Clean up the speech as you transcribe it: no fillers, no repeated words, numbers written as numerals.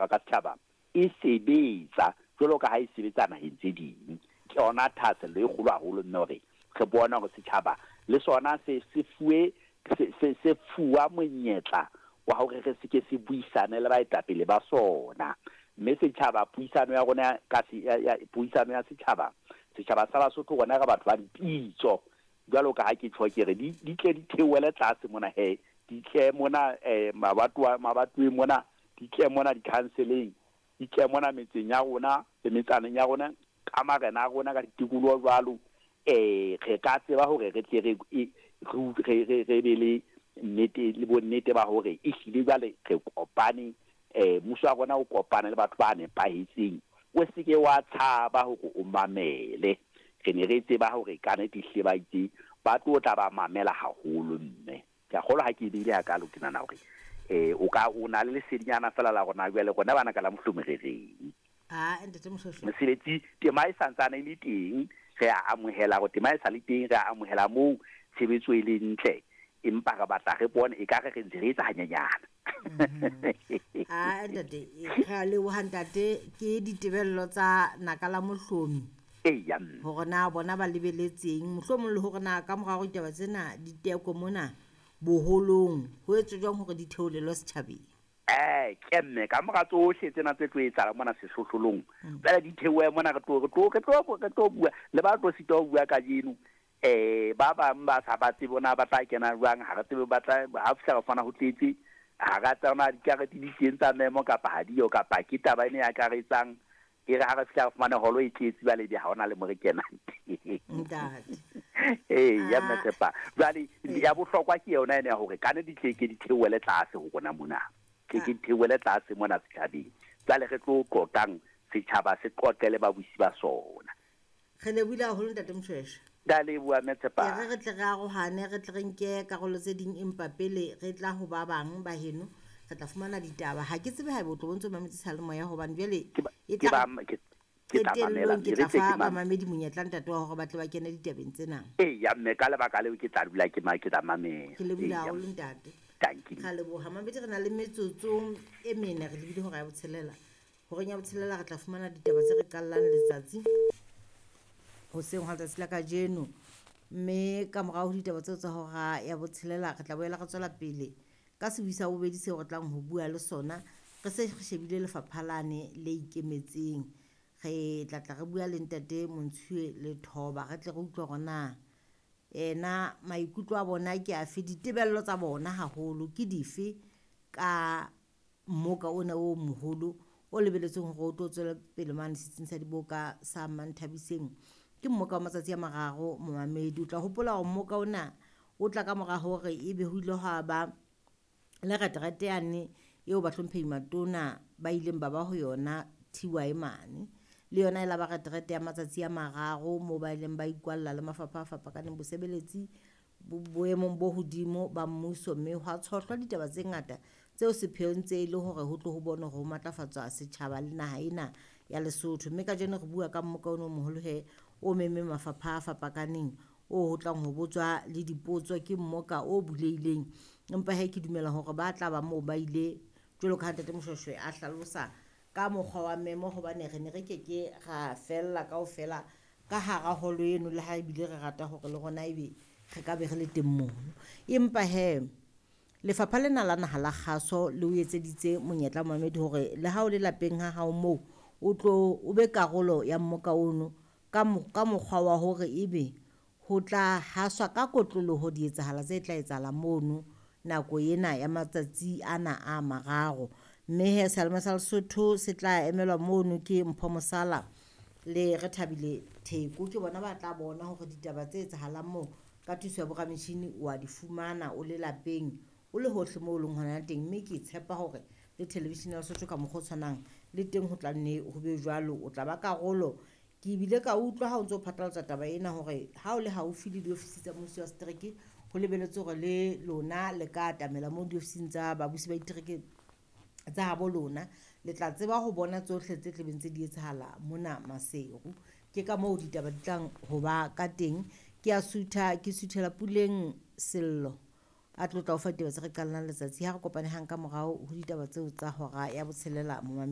Ka setjhaba e sebetsa jwalo ka ha e sebetsa naheng tse ding. Ke yona thahasello e kgolo haholo mme hore re bone hore setjhaba le sona se se fuwe se se se fuwa monyetla wa hore re se ke se buisane le baetapele ba sona. Mme setjhaba puisano ya rona ka ya ya puisano ya setjhaba, setjhaba sa Basotho rona re batho ba dipitso. Jwalo ka ha ke tjho ke re di di tle di theohele tlase mona he, di tle mona mabatowa mabatoweng mona Di tle mona dikhanseleng, di tle mona metseng ya rona le metsaneng ya rona, ka marena a rona, ka ditikoloho jwalo. Re ka tseba hore re tle re, re, re, re be le nnete le bonnete ba hore ehlile jwale re kopane, mmuso wa rona o kopane le batho ba nepahetseng. O se ke wa tshaba hore o mamele. Re ne re tseba hore ka nete ehlile ba itse ba tlo tla ba mamela haholo, mme. Ke a kgolwa ha ke e beile hakalo, ke nahana hore um o ka o na le lesedinyana fela la rona jwale rona bana ka la Mohlomi re reng. Ah, ntate Moshweshwe. Mosebetsi tema e santsane e le teng, re a amohela hore tema e sa le teng, re a amohela moo tshebetso e leng ntle, empa re batla re bone ekare re ntse re etsa hanyenyana. Ah, ntate, re a leboha ntate, ke ditebello tsa naka la Mohlomi. Eya mme. Hore na bona ba lebeletseng, mohlomong le hore na ka mora hore ditaba tsena di tekwe mona boholong, ho etswe jwang hore di theolelwe setjhabeng. Eh, ke mme, ka mora tsohle tsena tse tlo etsahala mona sehlohlolong, jwale di theohe mona re tlo, re tlo, re tlo, re tlo bua le ba tlo sitwa ho bua kajeno. Eh, ba bang ba sa ba tsebe na ba tla kena jwang, ha re tsebe ba tla, ha fihla re fumana ho tletse, ha ra tseba na dikarete di teng tsa memo kapa ha diyo, kapa ke taba ena e akaretsang. E re ha re fihla re fumane holo e tletse jwale ebe ha hona le mo re kenang teng. Ntate. Ee, ya Mme Ah. Tshepa. Jwale Ee. ya bohlokwa ke yona ena ya hore ka ne di tle ke di theohele tlase ho rona mona. Tle ke di theohele tlase mona setjhabeng. Jwale re tlo qoqang setjhaba se qoqe le babusi ba sona. Re lebohile haholo Ntate Moshweshwe. Ke a leboha Mme E Tshepa. re re tle re arohane, re tle re nke karolo tse ding empa pele re tla ho ba bang ba heno re tla fumana ditaba. Ha ke tsebe haeba o tlo bo ntso mametse seyalemoya hobane jwale Ke ba e ke tla ba ke ke tla mamela qetellong ke mme re tla tle fa ke mamele. bamamedi monyetla ntate wa hore ba tle ba kene ditabeng tsena. Eya mme ka lebaka leo ke tla dula ke ma ke tla mamela. Ke lebohile Eya haholo mme. ntate. Dankie. Ra leboha mamedi re na le metsotso e mene re lebile hora ya botshelela. Horeng ya botshelela re tla fumana ditaba tse re qallang letsatsi hoseng hwa letsatsi la kajeno. Mme ka morao ho ditaba tseo tsa hora ya botshelela re tla boela re tswela pele ka sebui sa bobedi seo re tlang ho bua le sona. Re se re shebile lefapha lane le ikemetseng. Re tla tla re bua le ntate Montshiwe le Thoba re tle re utlwe hore na ena maikutlo a bona ke afe, ditebello tsa bona haholo ke dife ka mmoka ona o moholo o lebeletsweng hore o tlo tswela pele mane setsing sa diboka sa Manthabiseng. Ke mmoka wa matsatsi a mararo momamedi. O tla hopola hore mmoka ona o tla ka mora hore ebe ho ile hwa ba le reterete yane eo bahlomphehi matona ba ileng ba ba ho yona TY mane. Le yona e la ba reterete ya matsatsi a mararo moo ba ileng ba ikwalla le mafapha a fapakaneng bosebeletsi boemong bo hodimo ba mmuso, mme hwa tshohlwa ditaba tse ngata tseo sepheo ntse e le hore ho tlo ho bonwe hore ho matlafatswa setjhaba le naha ena ya Lesotho. Mme kajeno re bua ka mmoka ona o moholo he o memmeng mafapha a fapakaneng o ho tlang ho botswa le dipotso ke mmoka o bulehileng. Empa he ke dumela hore ba tla ba moo ba ile jwalo ka ha Ntate Moshweshwe a hlalosa ka mokgwa wa memo, hobane re ne re ke ke ra fella kaofela ka hara holo eno le ha ebile re rata hore le rona ebe re ka be re le teng mono. Empa he lefapha lena la naha la kgaso le o etseditse monyetla momamedi hore le ha o le lapeng ha hao moo o tlo o be karolo ya mmoka ono ka ka mokgwa wa hore ebe ho tla haswa ka kotloloho dietsahala tse tla etsahala mono nako ena ya matsatsi ana a mararo. Mme he seyalemoya sa Lesotho se tla emelwa mono ke Mpho Mosala le Rethabile Theko. Ke bona ba tla bona hore ditaba tse etsahalang moo ka thuso ya borametjhini wa di fumana o le lapeng, o le hohle moo o leng hona teng. Mme ke tshepa hore le television ya Lesotho ka mokgwa o tshwanang le teng ho tla nne ho be jwalo, o tla ba karolo. Ke bile ka utlwa ha o ntso phatlalatsa taba ena hore ha o le haufi le diofisi tsa mmuso wa setereke, ho lebeletswe hore le lona le ka atamela moo diofising tsa babusi ba ditereke tsa habo lona. Le tla tseba ho bona tsohle tse tlebeng tse di etsahala mona Maseru. Ke ka moo ditaba di tlang ho ba ka teng. Ke a sutha, ke suthela Puleng Sello. A tlo tla o fa ditaba tse re qallang letsatsi. Ha re kopane hang ka morao ho ditaba tseo tsa hora ya botshelela, momamedi.